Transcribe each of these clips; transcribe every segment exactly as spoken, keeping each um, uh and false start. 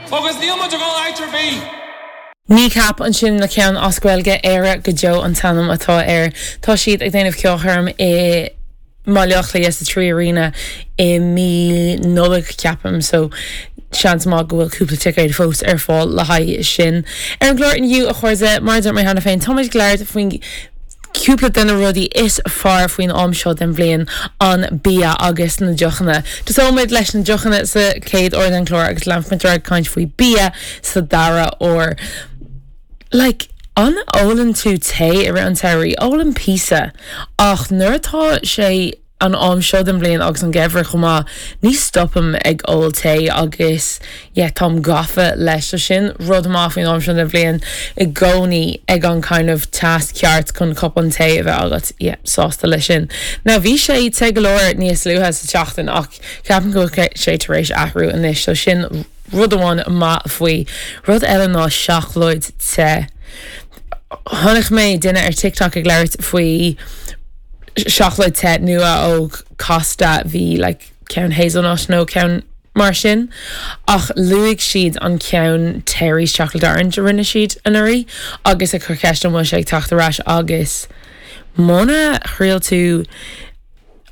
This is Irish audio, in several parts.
Agus níl muid ag dul áit ar bith. Kneecap ansin le ceann as Gaeilge Éire go deo an t-ainm atá air. Tá siad ag déanamh ceolchoirm i mBaile Átha Cliath sa Three Arena i mí Nollag ceapaim so seans maith go bhfuil cúpla ticéad fós ar fáil le haghaidh sin. Ar an gclár inniu a chairde mar mé cheana féin táimid ag labhairt faoin cúpla de na rudaí is fearr faoin am seo den bhliain an bia agus na deochanna. Tosóimid leis na deochanna sa chéad uair den chlár agus leanfaimid ag caint faoi bia sa dara huair. Like, an ólann tú tae i rith an tsamhraidh ólaim píosa ach nuair atá sé an am seo den bhliain agus an geimhreadh chomh maith ní stopaim ag ól tae agus yeah, táim gafa leis so sin rud maith faoin am seo den bhliain i gcónaí ag an kind of teas ceart chun cupán tae a bheith agat yeah, sásta leis sin. Now bhí sé te go leor níos luaithe sa tseachtain ach ceapaim go bhfuil sé tar éis athrú anois so sin rud amháin maith faoi rud eile ná seacláid te. Chonaic mé duine ar TikTok ag labhairt faoi seacláid te nua ó Costa bhí like, ceann hazelnut nó ceann mar sin ach luaigh siad an ceann Terry's chocolate orange a rinne siad anuraidh agus ag cur ceist an bhfuil sé ag teacht ar ais agus muna thriail tú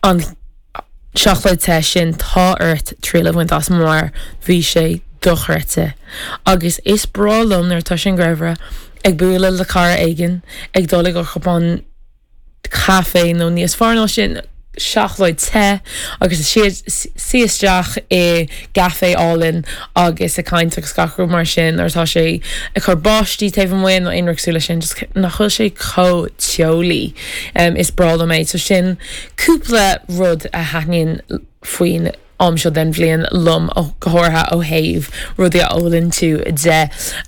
an seacláid te sin tá ort triail a bhaint as mar bhí sé dochreidte agus is breá liom nuair atá sin geimhreadh ag bualadh le cara éigin ag dul ag cupán caife nó níos fearr ná sin seacláid te agus suí isteach i gcaife álainn agus ag caint agus gach rud mar sin ar tá sé ag cur báistí taobh amuigh nó aon rud sin just nach bhfuil sé chomh teolaí um, is breá liom é so sin cúpla rud a thaitníonn faoin am seo den bhliain liom go háirithe ó thaobh rudaí a ólann tú de.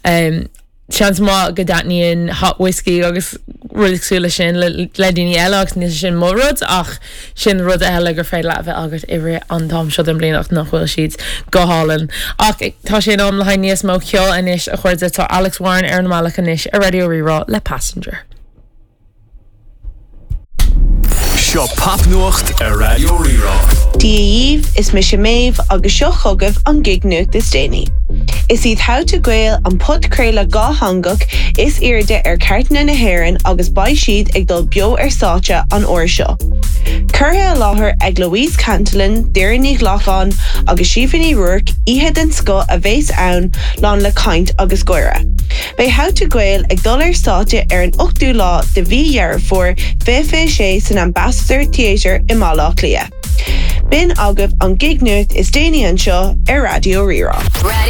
Um, Seans maith go dtaitníonn hot whiskey agus rudaí le sin le le daoine eile agus ní sin mo rud ach sin rud eile gur féidir leat a bheith agat i rith an t-am seo den bhliain ach nach bhfuil siad go hálainn. Ach tá sé in am le haghaidh níos mó ceoil anois a chairde tá Alex Warren ar an mbealach anois ar Raidió Rí-Rá le Passenger. Seo popnuacht ar Raidió Rí-Rá. Dia dhaoibh is mise Méabh agus seo chugaibh an gig nuacht is déanaí. Is iad How to Gael an podchraoladh dátheangach is airde ar chairteanna na hÉireann agus beidh siad ag dul beo ar stáitse an uair seo. Curtha i láthair ag Louise Cantillon, Doireann Ní Ghlacáin agus Síomha Ní Ruairc oíche den scoth a bheas ann lán le caint agus gáire. Beidh How to Gael ag dul ar stáitse ar an ochtú lá de mhí Dheireadh Fómhair fiche fiche sé san Ambassador Theatre i mBaile Átha Cliath. B'in agaibh an gig nuacht is déanaí anseo ar Raidió Rí-Rá. Radio